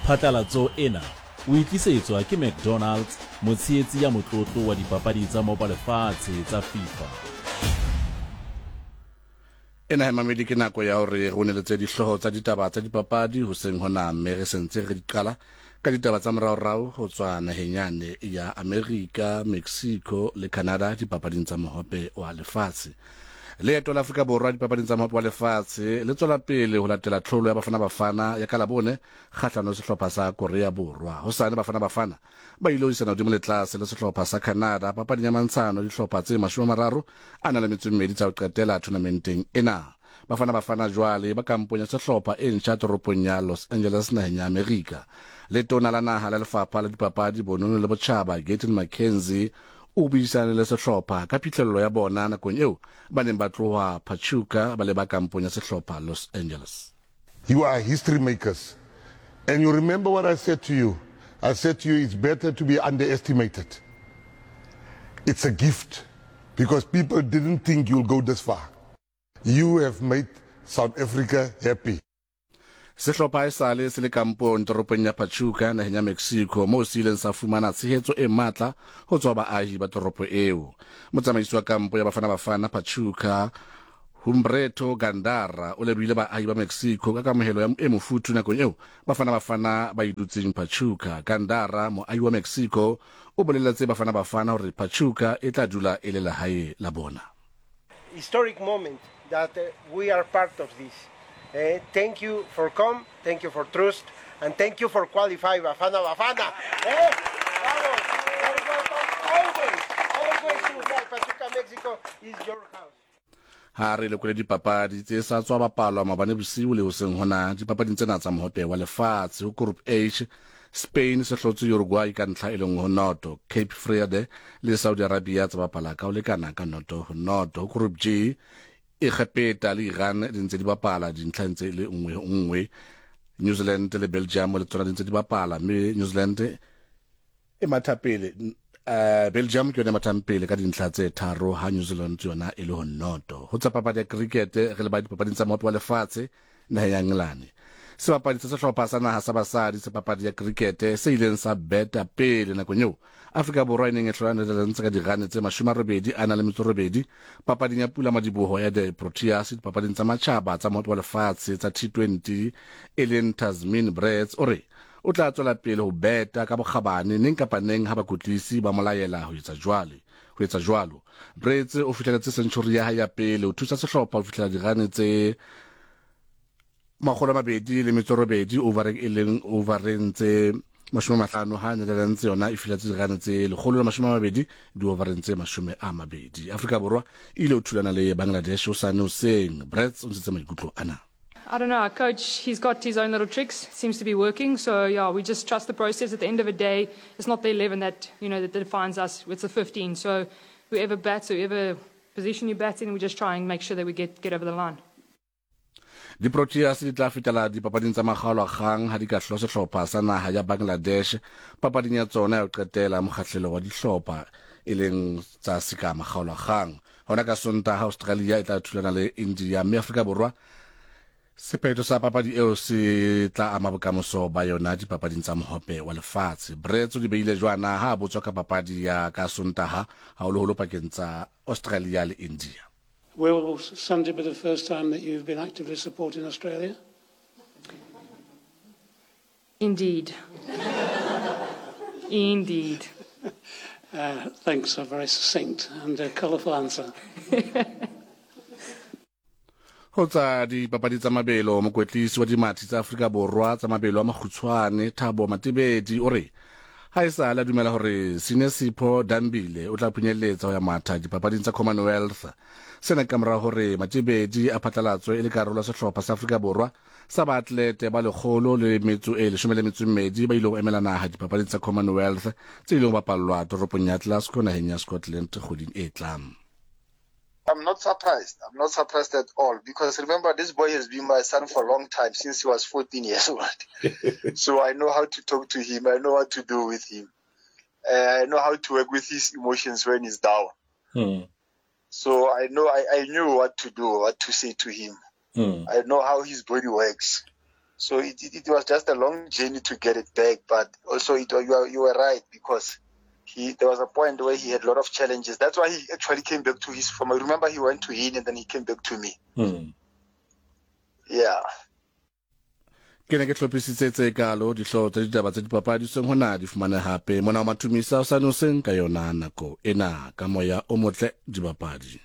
Phatlalatso ena o e tlisetswa ke McDonald's, motshehetsi ya motlotlo wa dipapadi tsa Mopa Lefatshe tsa FIFA. Ena he mamedi ke nako ya hore re o neletse dihlooho tsa ditaba tsa dipapadi hoseng hona mme re sentse re di qala ka ditaba tsa moraorao ho tswa naheng yane ya Amerika, Mexico le Canada dipapading tsa mohope wa lefatshe. Leeto la Afrika Borwa dipapading tsa mohope wa lefatshe le tswela pele ho latela tlholo ya Bafana Bafana ya ka Labone kgahlano le sehlopha sa Korea Borwa. Hosane Bafana Bafana ba ile ho isana hodimo le tlase le sehlopha sa Canada papading ya mantshano dihlopha tse 30 a na le metso e mmedi tsa ho qetela tournamenteng ena. Bafana Bafana jwale ba kampong ya sehlopha e ntjha toropong ya Los Angeles naheng ya Amerika. Letona la naha la lefapha la dipapadi, bonono le botjhaba Gayton McKenzie o buisane le sehlopha ka phihlello ya bona nakong eo ba neng ba tloha Pachuca ba leba kampong ya sehlopha Los Angeles. You are history makers. And you remember what I said to you? I said to you, it's better to be underestimated. It's a gift because people didn't think you'll go this far. You have made South Africa happy. Sehlopha esale se le kampong toropong ya Pachuca naheng ya Mexico moo se ileng sa fumana tshehetso e matla ho tswa baahi ba toropo eo. Motsamaisi wa kampo ya Bafana Bafana Pachuca Humberto Gandara o lebohile baahi ba Mexico ka kamohelo ya e mofuthu nakong eo Bafana Bafana ba e dutseng Pachuca. Gandara, moahi wa Mexico, o boleletse Bafana Bafana hore Pachuca e tla dula e le lehae la bona. Historic moment that we are part of this. Eh, thank you for come, thank you for trust, and thank you for qualify Bafana Bafana. Eh? Vamos, always, always to Pachuca, Mexico is your house. Ha re lekole dipapadi tse sa tswa bapalwa maobane bosiu le hoseng hona dipapading tsena tsa mohope wa lefatshe. Ho Group H, Spain se hlotse Uruguay ka ntlha e le nngwe ho noto. Cape Verde le Saudi Arabia tsa bapala ka ho lekana ka noto ho noto. Ho Group G, Egepeta le Iran di ntse di bapala dintlha ntse e le nngwe ho nngwe. New Zealand le Belgium le tsona di ntse di bapala mme New Zealand e matha pele uh, Belgium ke yone e mathang pele ka dintlha tse tharo ha New Zealand yona e le ho noto. Ho tsa papadi ya cricket re le ba dipapading tsa mohope wa lefatshe naheng ya Engelane. Sebapadi sa sehlopha sa naha sa basadi sa papadi ya cricket se ileng sa beta pele nakong eo Afrika Borwa e neng e hlola Netherlands ka dirane tse 88 a na le metso robedi papading ya pula madiboho ya The Proteas dipapading tsa matjhaba tsa mohope wa lefatshe tsa T20 e leng Tazmin Brits o re O tla tswela pele ho beta ka bokgabane neng kapa neng ha bakwetlisi ba mo laela ho etsa jwale. Ho etsa jwalo. Brits o fihleletse century ya hae ya pele ho thusa sehlopha ho fihlela dirane tse 208 overeng e leng overeng tse 50 ha Netherlands yona e fihletse dirane tse 120 diovereng tse 20. Afrika Borwa e ile ho thulana le Bangladesh hosane hoseng. Brits o ntshitse maikutlo ana. I don't know, our coach, he's got his own little tricks, seems to be working. So, yeah, we just trust the process. At the end of the day, it's not the 11 that, you know, that defines us. It's the 15. So whoever bats, whoever position you bat in, we just try and make sure that we get, get over the line. Di-Proteas di tla fetela dipapading tsa makgaolakgang ha di ka hlola sehlopha sa naha ya Bangladesh papading ya tsona ya ho qetela mokgahlelo wa dihlopha e leng tsa seka makgaolakgang. Hona ka Sontaha Australia e tla thulana le India mme Afrika Borwa sephetho sa papadi eo se tla ama bokamoso ba yona dipapading tsa mohope wa lefatshe. Brets o di beile jwana ha a botswa ka papadi ya ka Sontaha haholoholo pakeng tsa Australia le India. Will Sunday be the first time that you've been actively supporting Australia? Indeed. Indeed. Uh, thanks, a very succinct and a colourful answer. Ho tsa dipapadi tsa mabelo, mokwetlisi wa dimathi tsa Afrika Borwa tsa mabelo a makgutshwane Thabo Matebedi o re ha e sa le a dumela hore Sinesipho Dambile o tla phunyelletsa ho ya matha dipapading tsa Commonwealth. Sena ke kamora hore Matebedi a phatlalatswe e le karolo ya sehlopha sa Afrika Borwa sa baatlete ba lekgolo le metso e leshome le metso e mmedi ba ilego emela naga dipapading tsa Commonwealth tse ilego bapallwa toropong ya Glasgow nageng ya Scotland kgweding e tlang. I'm not surprised. I'm not surprised at all because remember this boy has been my son for a long time since he was 14 years old. so I know how to talk to him. I know what to do with him. Uh, I know how to work with his emotions when he's down. Hmm. So I know I, I knew what to do, what to say to him. Hmm. I know how his body works. So it, it, it was just a long journey to get it back. But also, it, you, are, you were right because he there was a point where he had a lot of challenges. That's why he actually came back to his form. I remember he went to him and then he came back to me. Yeah. Ke ne ke hlophisitse tse kaalo dihlooho tsa ditaba tsa dipapadi seng hona di fumane hape mona wa Mathumisa o sa noseng ka yona nako ena ka moya o motle dibapadi.